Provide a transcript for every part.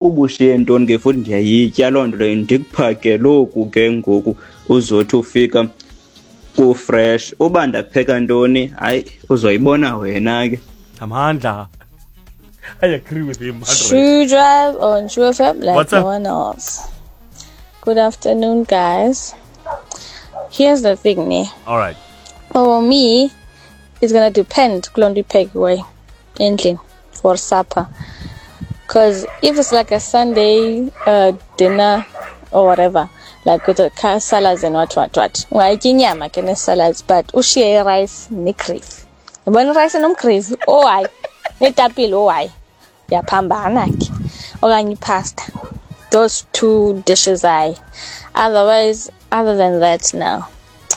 Ubushiye ntoni ke futhi ndiyayitya loo nto leyo, ndikuphakele oku ke ngoku uzothi ufika ku-fresh. Uba ndapheka ntoni, hayi, uzoyibona wena ke. Amandla. I agree with him. 100. True Drive on True FM like What's no up? one else. Good afternoon, guys. Here's the thing, ne? All right. For me, it's gonna depend kuloo nto iphekiweyo endlini for supper. Because if it's like a Sunday dinner or whatever, like with the salads and what, what, what, ungayitya inyama ke nee-salads, but ushiye i-rice negravy. Yabona i-rice nomgravy? Oh hayi, neetapile, oh hayi. Ndiyaphambana ke. Okanye ipasta. Those two dishes, hayi. Otherwise, other than that, no.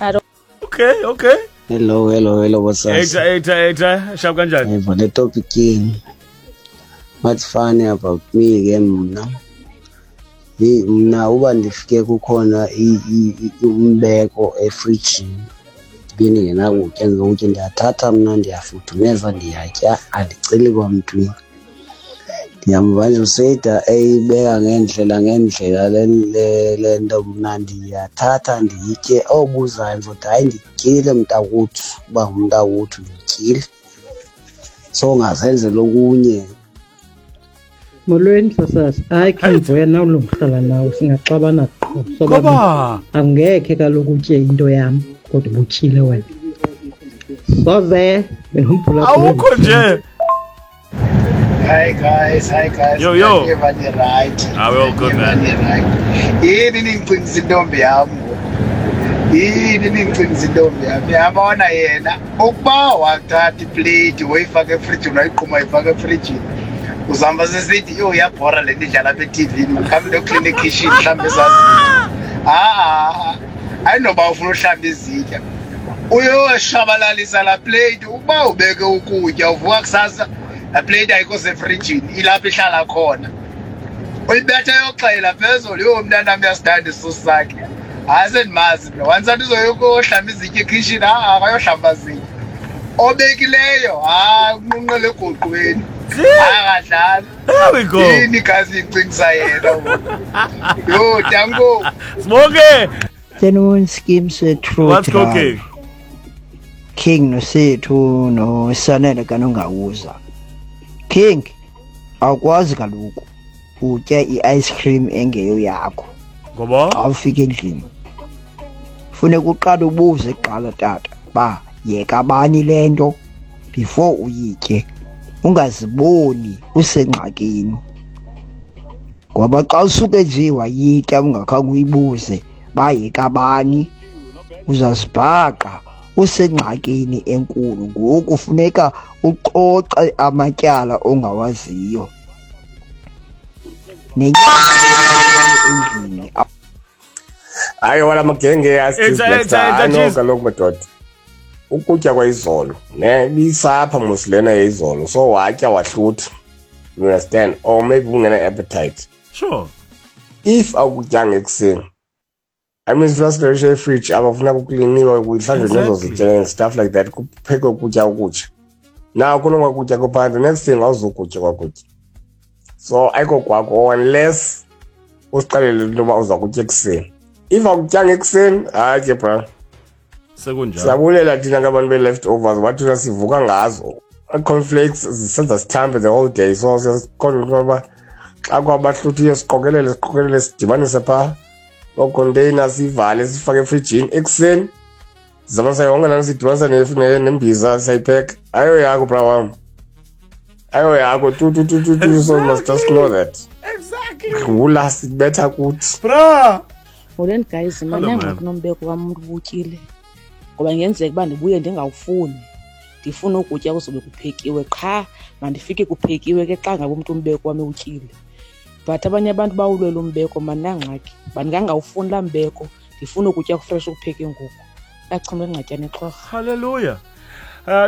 I don't. Okay. Hello, hello, hello, what's up? Eta, eta, eta. Sharp kanjani? Hey, le topic yenu. What's funny about me ke mna? Hey, mna uba ndifike kukhona umbeko efrijini bendingenakutya ngokutya, ndiyathatha mna ndiyafudumeza ndiyatya, andiceli kwamntwini. Ndiyamva nje useyida eyibeka ngendlela ngendlela le nto, mna ndiyathatha ndiyitye. Obuzayo ndizothi hayi ndityile mntakwethu, uba ngumntakwethu ndityile, so ungazenzela okunye. Molweni sasasi. Hayi King Vuya, nawe ulungihlala nawe singaxabana qho sobabini. Ngoba Angekhe kaloku utye into yam kodwa ubutyile wena. Soze bengumphulaphuli. Awukho nje. Hi guys, hi guys. Yo, yo. Everybody right. Ah, we're all good, man. Everybody right. Yini ningicingisa intombi yami ngoku? Yini ningicingisa intombi yami? Uyabona yena ukuba wathatha iplate wayifaka efrijini, wayiqhuma wayifaka efrijini. Uzahamba sesithi yo iyabhora le nto idlala apha e-T_V, mhlawumbe ndoklina ekhishini mhlawumbe ezazitya. Ha-a, ayinoba ufuna uhlamba izitya. Uyoshabalalisa laa plate. Ukuba ubeke ukutya uvuka kusasa, laa plate ayikho sefrijini, ilapho ihlala khona. Uyibetha yoxela phezulu, yho mntanam uyasithanda isisu sakhe. Hayi sendimazi mna, once athi uzoyokohlamba izitya ekhishini, ha-a akayohlamba zitya. Obekileyo, hayi unqunqele egoqweni. Hayi akadlali. There we go. Yini igazi icingisa yena ngoku. Yho, danko. Smoke. Afternoon, Scheme True What's cooking? King noSethu noSanele kaNongawuza. King, awukwazi kaloku utya i-ice cream engeyo yakho. Ngoba? Xa ufika endlini funeka uqale ubuze kuqala tata ba yeka bani le nto before uyitye, ungaziboni usengxakini, ngoba xa usuke nje wayitya ungakhange uyibuze ba yeka bani, uzazibhaqa usengxakini enkulu. Ngoku funeka uxoxe amatyala ongawaziyo endlini. Hayi wala magenge. Etha, etha, etha, Ano cheese. kaloku madoda, ukutya kwayizolo ne ibisapha mos lena yayizolo, so watya wahlutha, you understand, or maybe ungena appetite. If awukutyanga ekuseni, I mean, sifuna efridge abafuna kukliniwe, kuhlanjwe nezo zitya and stuff like that, kuphekwe ukutya okutsha. Now kulonga kutya kophandle, next thing awuzukutya kwakutya, so ayiko kwakho unless usixelele into yoba uza kutya ekuseni. If awukutyanga ekuseni, hayi ke bra. Sekunjalo. Siyabulela thina ke abantu be-leftovers, wathina sivuka ngazo. Ii-cornflakes zisenza sithambe the whole day, so siyasiqonda into yoba xa kwabahluthiyo siqokelele, siqokelele, sidibanise phaa loo container, siyivale, sifake efrijini. Ekuseni sizama sayonke laa nto, siyidibanisa nembiza, siyayipheka. Ayo yakho bra wam, ayo yakho tu tu tu tu tu. So you must just know that dlula sibetha kuthi. Bra. Molweni guys, Hello, mna ma'am. ngxaki nombeko wam umntu ubutyile, ngoba ingenzeka uba ndibuye ndingawufuni, ndifune ukutya kuzobe kuphekiwe qha, mandifike kuphekiwe ke xa ngabe umntu umbeko wam ewutyile. But abanye abantu bawulwela umbeko, mandinangxaki, bandingangawufuni laa mbeko, ndifune ukutya kufresh okupheke ngoku. Achame ingxatyana exhorha. Hallelujah.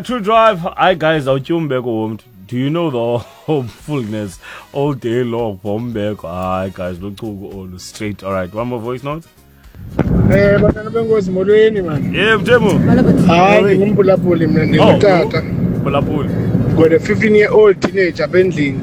True Drive, hi guys, awutyi umbeko womntu. Do you know the hopefulness all day long for umbeko? Hayi guys, luchuku olu straight. All right, one more voice note. Bantwana benkosi, molweni mani. Yeah, Mthembu. Hayi, ndingumphulaphuli mna, ndingutata. Phulaphuli. Got a 15 year old teenager apha endlini.